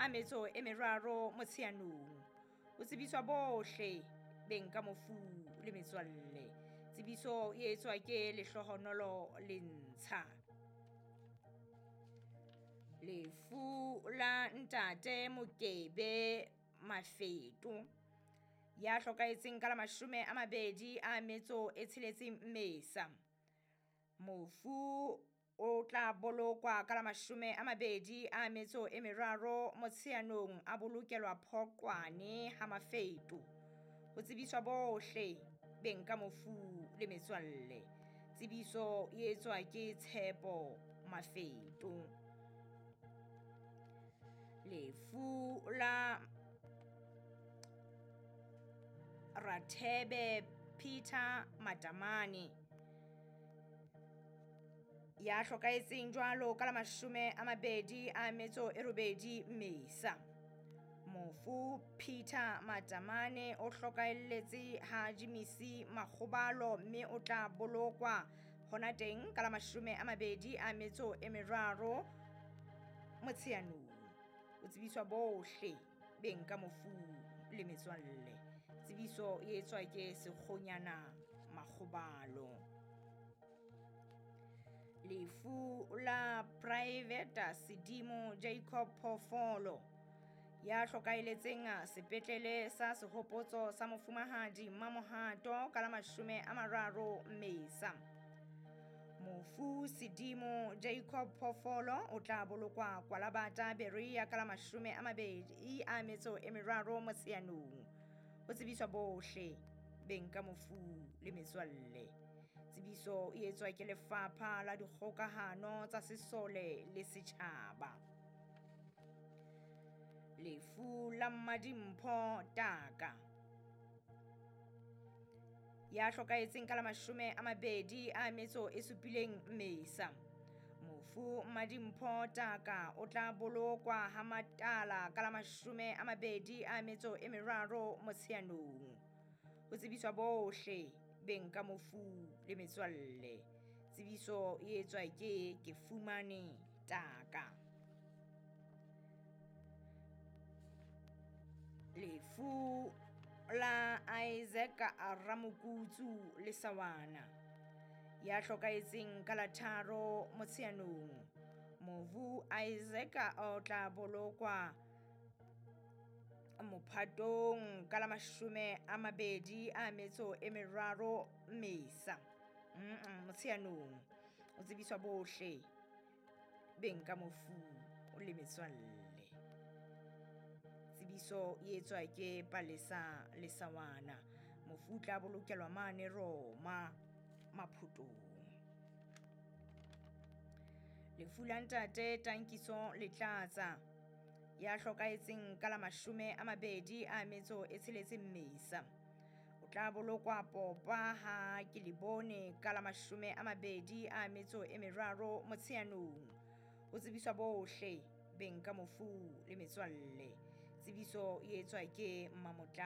a metso e meraro Motsheanong. Ho tsebiswa bohle beng ka mofu le metswalle. Tsebiso e etswa ke Lehlohonolo Lentsha. Lefu la ntate Mokebe Mafeto ya hlokahetseng ka la 26 Mmesa. Mofu o tla bolokwa ka la 23 Motsheanong, a bolokelwa Phoqwane ha Mafeto. Ho tsebiswa bohle beng ka mofu le metswalle. Tsebiso e etswa ke Tshepo Mafeto. Lefu la Rathebe Peter Matamane ya hlokahetseng jwalo ka la 28 Mmesa. Mofu Peter Matamane o hlokahelletse ha Jimisi Makgobalo mme o tla bolokwa hona teng ka la 23 Motsheanong. O tsebiswa bohle beng ka mofu le metswalle. Tsebiso e etswa ke Sekgonyana Makgobalo. Lefu la Private Sedimo Jacob Phoofolo ya hlokahelletseng sepetlele sa Sehopotso sa Mofumahadi Mamohato ka la 30 Mmesa. Mofu Sedimo Jacob Phoofolo o tla bolokwa Kwalabata Berea ka la 23 Motsheanong. Ho tsebiswa bohle beng ka mofu le metswalle. Tsebiso e etswa ke Lefapha la Dikgokahano tsa Sesole le Setjhaba. Lefu la Mmadimpho Taka ya hlokahetseng ka la 27 Mmesa. Mofu Mmadimpho Taka o tla bolokwa ha Matala ka la 23 Motsheanong. Ho tsebiswa bohle beng ka mofu le metswalle. Tsebiso e etswa ke Kefumane Taka. Lefu la Isaac Ramokutsu Lesawana ya hlokahetseng ka la 3 Motsheanong. Mofu Isaac o tla bolokwa Mophatong ka la 23 Mmesa. Motsheanong. O tsebiswa bohle beng ka mofu le metswalle. Tsebiso e etswa ke Palesa Lesawana. Mofu o tla bolokelwa mane Roma Maphotong. Lefu la ntate Tankiso Letlatsa ya hlokahetseng ka la 26 Mmesa. O tla bolokwa Popa ha ke le bone ka la 23 Motsheanong. Ho tsebiswa bohle beng ka mofu le metswalle. Tsebiso e etswa ke Mmamotla.